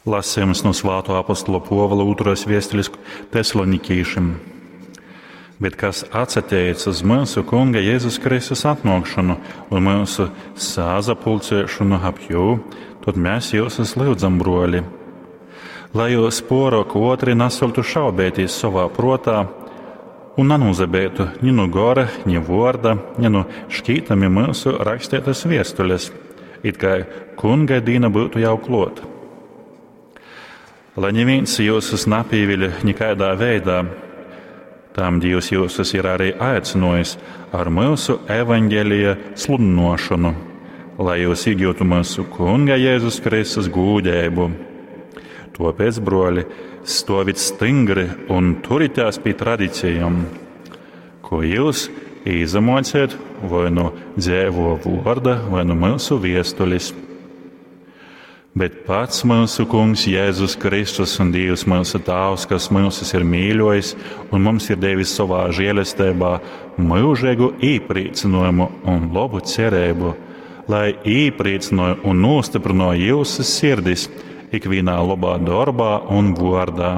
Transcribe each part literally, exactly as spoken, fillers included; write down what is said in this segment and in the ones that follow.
Lasījums no Svāto apostola Pōvula ūtrōs viestulis Tesalonikīšim. Bet kas atsateic uz myusu Kunga Jēzus Kristus atnōkšonu un myusu sasapulcēšonu ap jū, tod mēs jyusus lyudzam, brōli, lai jyus pōrōk ōtri nasōktu šaubeitīs sovā prōtā un nanūsabeitu ni nu gora, ni vōrda, ni nu škītami myusu raksteitas viestules, it kai Kunga dīna byutu jau klōt. Lai nivīns jyusus napīviļ nikaidā veidā, tam Dīvs jyusus ir arī aicynōjis ar myusu evaņgelija sludynōšonu, lai jyus īgyutu myusu Kunga Jēzus Kristus gūdeibu. Tōpēc, brōli, stōvit styngri un turitās pi tradicijom, ko jyus īsamōcejot voi nu dzeivō vōrda, voi nu myusu viestulis. Bet pats myusu Kungs Jēzus Kristus un Dīvs myusu Tāvs, kas myusus ir mīļōjis un mums ir devis sovā žēlesteibā myužeigu īprīcynōjumu un lobu cereibu, lai īprīcynoj un nūstyprynoj jyusu sirdis ikvīnā lobā dorbā un vōrdā.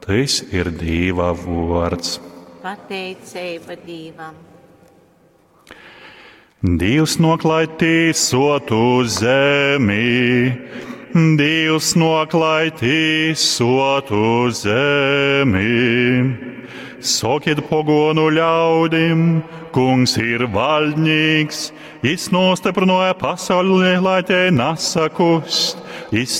Tys ir Dīva vōrds. Pateiceiba Dīvam. Dīvs nōk, lai tīsotu zemi, Dīvs nōk, lai tīsotu zemi. Sokit pogōnu ļaudim, Kungs ir vaļdnīks, jis nūstyprynōja pasauli, lai tei nasakust, jis